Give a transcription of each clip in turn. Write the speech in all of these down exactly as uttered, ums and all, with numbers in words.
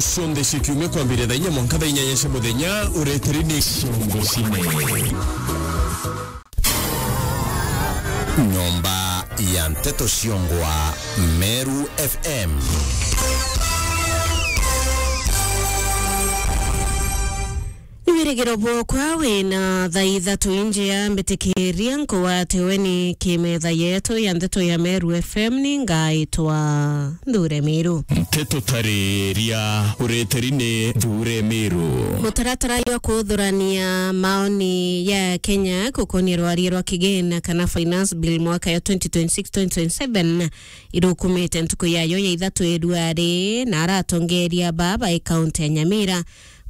Cionthe cia kiumia kwambiria thaa inya mwanka thaa inyanya cia muthenya, ureteri ni Ciongo Cine. Nyomba ya Nteto Ciongwa, Meru F M. Ni wirigiro bwokwa wina thaa ithatu injia mbitikiria nkugwate weni kimetha yetu ya Nteto ya Meru F M, ni ngaitwa Nthure Miru. Nteto tariria ureteri ni Nthure Miru. Mutaratara jwa kuthurania maoni ya Kenya gukonia rwaria rwa kigina kana finance bill mwaka ya twenty twenty-six twenty twenty-seven irukumite ntuku yayo ya ithatu iruari, na aratongeria baba e kaunti ya Nyamira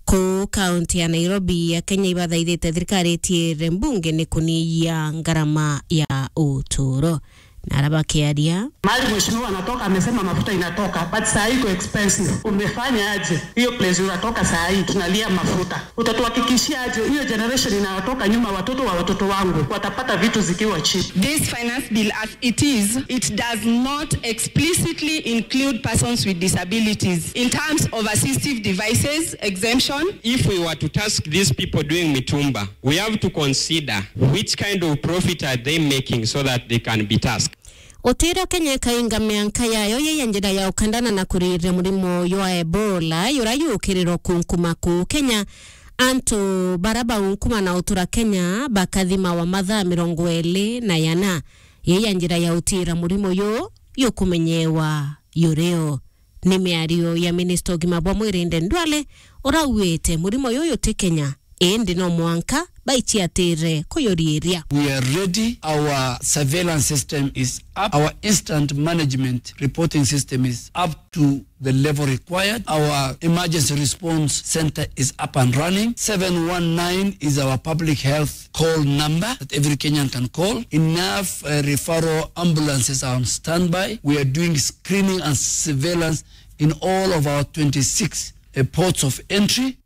kuu kaunti ya Nairobi ya Kenya ibathaithite thirikari itiire mbunge ni kunyihia ngarama ya uturo. Na ara bakiaria. Mahali mheshimiwa anatoka amesema mafuta inatoka, but saa hii iko expensive. Umefanya aje? Hiyo place unatoka saa hii tunalia mafuta. Utatuhakikishia aje hiyo generation inayotoka nyuma, watoto wa watoto wangu, watapata vitu zikiwa cheap? This finance bill, as it is, it does not explicitly include persons with disabilities in terms of assistive devices exemption. If we were to task these people doing mitumba, we have to consider which kind of profit are they making so that they can be tasked. Utiro Kenya ikainga mianka yayo ya njira ya ukandana na kuriria murimo jwa Ebola, jura jukirirwa kunkuma kuu Kenya. Antu bara baunkuma na utura Kenya bakathimawa mathaa mirongo iri na yana. Ii ya njira ya utira murimo yu yukumenyewa yurio. Ni miario ya minista ugima bwa mwiri Aden Duale, urauite murimo yu juti Kenya, indi no mwanka baiciatire kuyuriria. We are ready. Our surveillance system is up. Our instant management reporting system is up to the level required. Our emergency response center is up and running. Seven one nine is our public health call number that every Kenyan can call. Enough, uh, referral ambulances are on standby. We are doing screening and surveillance in all of our twenty-six, uh, ports of entry.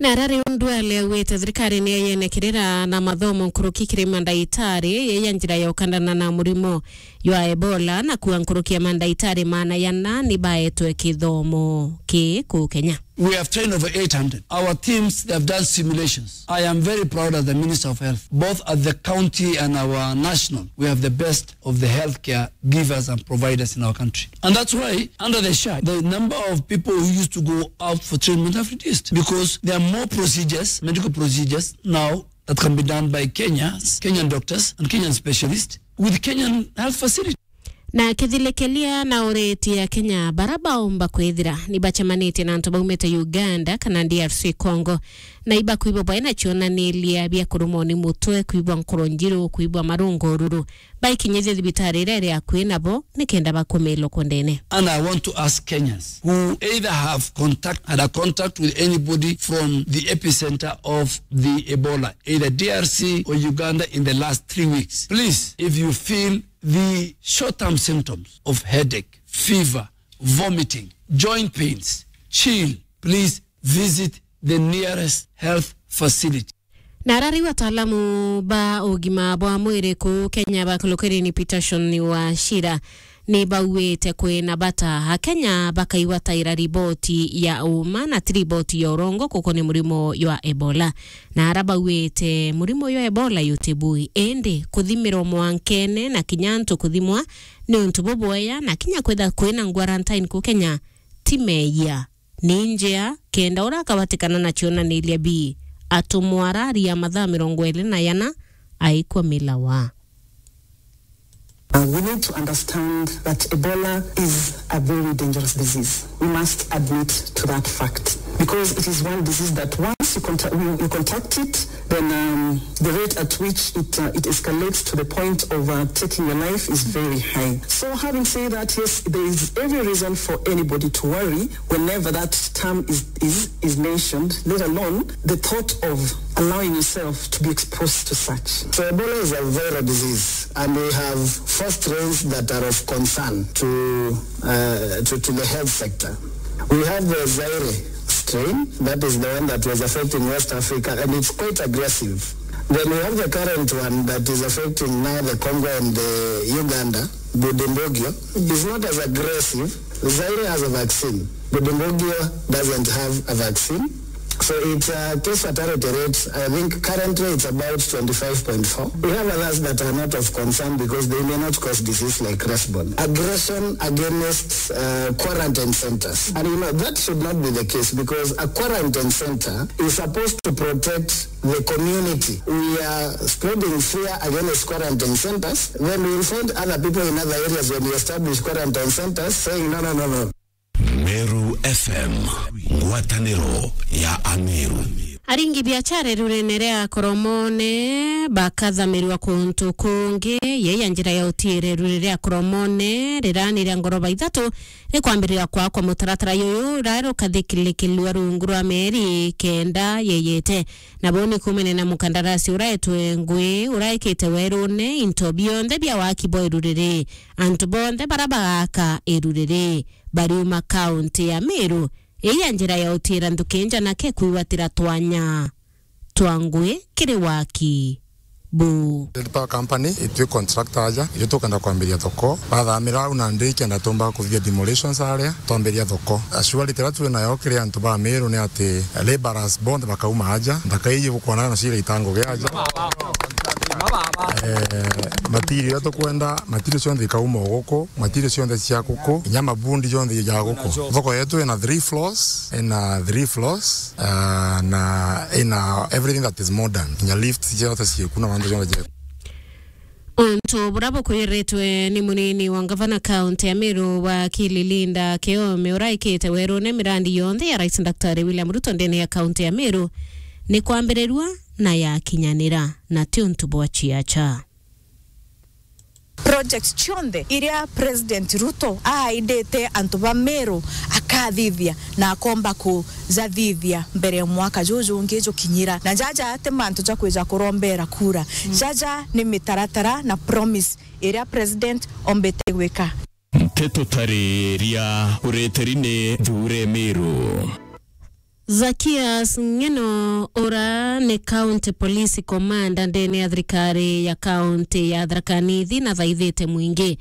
Na ara riu Duale augite thirikari ni yenekerera na mathomo nkuruki kiri mandaitari, ii ya njira ya ukandana na murimo jwa Ebola, na kuua nkuruki ya mandaitari maana yana ni baetwe kithomo ki kuu Kenya. We have trained over eight hundred. Our teams, they have done simulations. I am very proud as the Minister of Health, both at the county and our national. We have the best of the healthcare givers and providers in our country. And that's why, under the SHA, the number of people who used to go out for treatment have reduced because there are more procedures, medical procedures now that can be done by Kenyans, Kenyan doctors, and Kenyan specialists with Kenyan health facilities. Na kithilikelia na uriti ya Kenya, bara baumba kwithira ni bacemanitie na antu baumite Uganda kana D R C Congo, na ibakwigua baina cionaniria bia kurumwa ni mutwe, kwigua nkoro njiru, kwigua marungu ururu, baikinyithie thibitari iria iri akui nabo nikenda bakumilwa kundene. And I want to ask Kenyans who either have contact, had a contact with anybody from the epicenter of the Ebola, either D R C or Uganda in the last three weeks, please, if you feel the short-term symptoms of headache, fever, vomiting, joint pains, chill, please visit the nearest health facility. Na ara riu ataalamu ba ugima bwa mwiri kuu Kenya ba Cloquerin Peterson Wachira ni bauite kwina bata Akenya bakaigwataira riboti ya uma na ti riboti ya urongo gukonia murimo jwa Ebola. Na ara bauite murimo jwa Ebola jutibui, indi kuthimirwa mwankene na kinya antu kuthimwa ni untu bubwega, na kinya kwitha kwina quarantine kuu Kenya ti meeyia. Ni njia kenda uria akabatikana na cionaniria bii, atumwa araria mathaa mirongo iri na yana aikwa milawa. Uh, we need to understand that Ebola is a very dangerous disease. We must admit to that fact because it is one disease that once you, contact, you, you contact it, then um, the rate at which it, uh, it escalates to the point of uh, taking your life is very high. So having said that, yes, there is every reason for anybody to worry whenever that term is, is, is mentioned, let alone the thought of allowing yourself to be exposed to such. So Ebola is a viral disease, and we have four strains that are of concern to, uh, to, to the health sector. We have the Zaire strain, that is the one that was affecting West Africa, and it's quite aggressive. Then we have the current one that is affecting now the Congo and the Uganda, Bundibugyo. It's not as aggressive. Zaire has a vaccine. Budungugio doesn't have a vaccine. So its, uh, case fatality rate, I think currently it's about twenty-five point four. We have others that are not of concern because they may not cause disease like Cresbon. Aggression against, uh, quarantine centers. And you know, that should not be the case because a quarantine center is supposed to protect the community. We are spreading fear against quarantine centers. Then we will find other people in other areas when we establish quarantine centers saying, "No, no, no, no." Meru F M, ngwatanĩro ya Ameru. Aringi biachara irurene ria Koromone bakathamirwa kuntu kungi, yei ya njira ya utiire irure ria Koromone riraniria ngoroba ithatu rikwambiriria kwakwa. Mutaratara yuyu urarukathikirikirua rungu rwa mieri kenda yeyete. Nabo ni kumene na mukandarasi uraetwe ngui uraikite werune into bionthe bia waki bwa iruriri. Antu bonthe bara bagaka iruriri bariuma kaunti ya Meru, ii ya njira ya utiira nthuki njanake kwigwatira twanya twa ngui kiri waki buu. Red Power Company, itwi contractor aja, itwi tukenda kwambiria thoko. Bathamira au nandi kenda tumba kuthithia demolitions aria, twambiria thoko. Assurity iria twi nayo kiri antu ba Meru ni ati labourers bonthe bakauma aja, nthaka iji bukwana na cira itango gia aja. Eh, material iria tukwenda, material cionthe ikauma o guku, material cionthe cia guku, inya mabundi jonthe ja guku. Thoko yetu ina three floors, ina three floors, ah, na ina everything that is modern. Inya lift jonthe cieku na mantu jonthe jeku. Untu bura bukwiritwe ni munini wa ngavana kaunti ya Meru, wakili Linda Kiome, uraikite werune mirandi yonthe ya Rais Daktari William Ruto ndene ya kaunti ya Meru ni kwambirirua na yakinyanira, na ti untu bwa ciaca. Project cionthe iria President Ruto aaidite antu ba Meru akathithia na akomba kujathithia mbere ya mwaka juju jungi jukinyira. Na jaja ti mantu ja kwija kurombera kura. Jaja ni mitaratara na promise iria President ombite gwika. Nteto tariria ureteri ni Thure Meru. Zakias Ng'eno, ura ni County Police Commander ndene ya thirikari ya kaunti ya Tharaka Nithi, nathaithite mwingi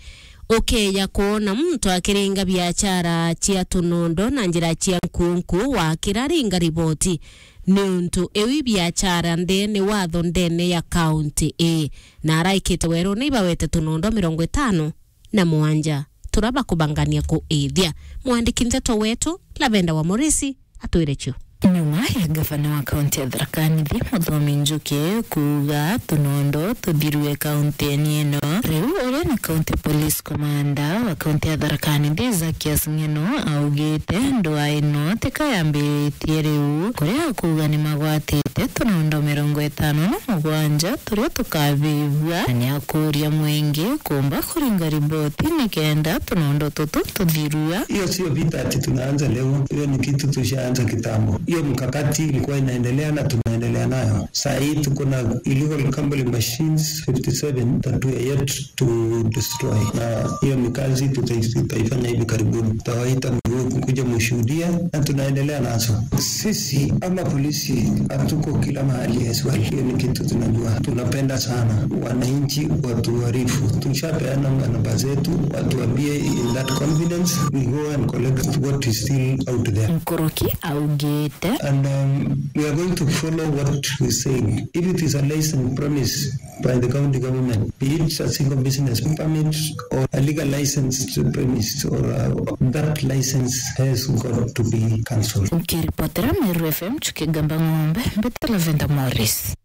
ukeeja kwona muntu akiringa biachara cia tunondo na njira cia nkunku wakira ringa riboti, niuntu iu i biachara nthini watho ndene ya kaunti ii, na araikite werune ibawete tunondo mirongo itano na mwanja tura bakubangania kuithia. Mwandiki nteto wetu Lavenda wa Morisi atwire cio. Nyuma ya ngavana wa kaunti ya Tharaka Nithi Muthomi Njuki kuuga tunondo tuthirue kaunti-ini ino, riu uria ni County Police Commander wa kaunti ya Tharaka Nithi Zakias Ng'eno augite ndwaa ino tika yambiritie riu, kuria akuuga ni magwatite tunondo mirongo itano na mugwanja turia tukavivua, na ni akuuria mwingi kumba kuringa riboti nikenda tunondo tutu tuthirua. Hiyo sio vita ati tunaanza leo, hiyo ni kitu tushaanza kitambo. Hiyo mkakati ilikuwa inaendelea na tunaendelea nayo. Saa hii tuko na illegal gambling machines fifty seven that we are yet to destroy, na hiyo ni kazi tutai-, tutaifanya hivi karibuni. Tutawaita mwe kuja mushuhudia, na tunaendelea nazo. Sisi ama polisi hatuko kila mahali as well. Hiyo ni kitu tunajua. Tunapenda sana wananchi watuarifu. Tushapeana namba zetu, watuambie in that confidence, we go and collect what is still out there. Nkuruki augite. And, um, we are going to follow what we say. If it is a license premise by the county government, be it a single business permit or a legal licensed premise, or, uh, that license has got to be cancelled. Nkiripotera Meru F M, Chuki Gamba Ng'ombe, mbete Lavenda Morris.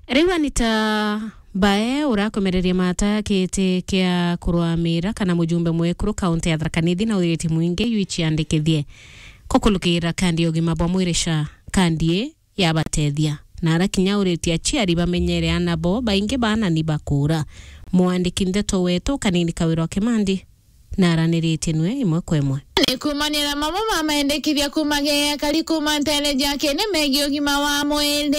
Riu Anita Bae urakomereria mata kiti kia kurwamira kana mujumbe mwekuru kaunti ya Tharaka Nithi na uthiriti mwingi yu iciandikithie kukulukira kandi ya ugima bwa mwiri SHA. Kandi ii yabatethia. Na arakinya uritie aciari bamenyere aana bo, baingi baana ni bakuura. Mwandiki ndeto wetu Kanini Kawirwa Kimandi naraniritie nwe imwe kwa imwe. Ni kumanira mamwe ma maendekithia kumageea kari kuma ntere ja kene megii ugima wa mwiri.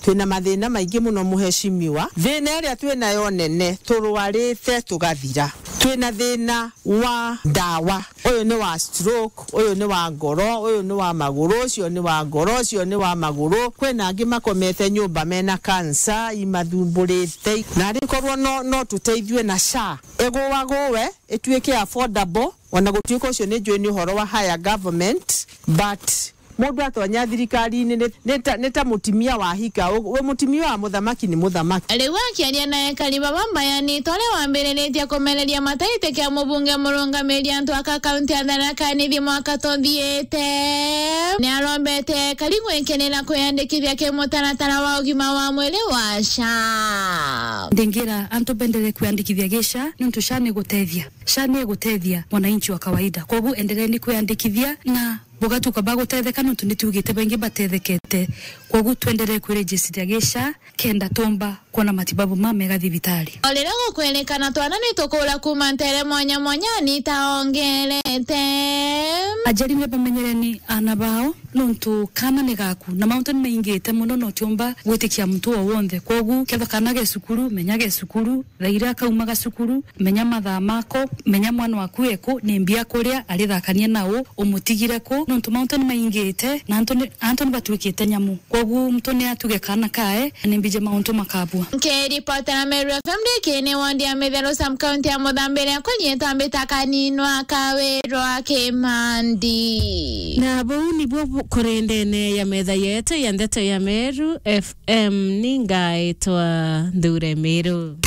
Twina mathina maingi muno, muheshimiwa. Thina iria twinayo nene, turwarite tugathira. Twina thina wa ndawa. Uyu ni wa stroke, uyu ni wa ngoro, uyu ni wa maguru, ucio ni wa ngoro, ucio ni wa maguru. Kwina angi makomete nyumba mena cancer imathumburite. Na rikorwo no, no tuteithue na SHA, iguaguwe, ituike affordable, Ona gutuika ucio ni njui ni uhoro wa higher government, but mundu atonya thirikari-ini ni, ni ta, ni ta mutimia wa hika. U-, we mutimia wa muthamaki ni muthamaki. Riu akiaria na ekari baba mbayani, tore wambiriritie kumereria mataiti kia mubunge murungamiri antu aka kaunti ya Tharaka Nithi mwaka tuthiite, ni arombete ekari gwikirira kwiyandikithia ki mutaratara wa ugima wa mwiri wa SHA. Ndingira antu bendere kwiyandikithia gi SHA, nontu SHA ni gutethia. SHA ni gutethia mwananchi wa kawaida. Koguo endereni kwiyandikithia na bugatuka bagutetheka, nontu ni tugite baingi batethekete. Koguo twenderee kwirejistia gi SHA kenda tumba kwona matibabu ma mega thibitari. O riria gukwerikana twana ni tukura kuma ntere mwanya mwanya ni taongerete. Ajari ni bamenyereni ana bao, nontu kana ni gaku, na mauntu ni maingite mono, na utiumba gwitikia muntu o wonthe. Koguo ketha kana ge cukuru, menya ge cukuru, thaa iria kaumaga cukuru, menya mathaa mako, menya mwana waku eku, ni mbia kuria, arithakanie nau, umutigire ku, nontu mauntu ni maingite, na antu ni, antu ni batuikite nyamu. Koguo muntu ni atuge kana kae, ni mbije mauntu makabua. Nkiripotera Meru F M ndikini wandi ya Mitheru, sub county ya Muthambiri, akonyie twambita kaninwa kawirwa Kimandi. Na buu nibuo bu-, kuri ndene ya metha yetu ya ndeto ya Meru F M, ni ngaitwa Nthure Miru.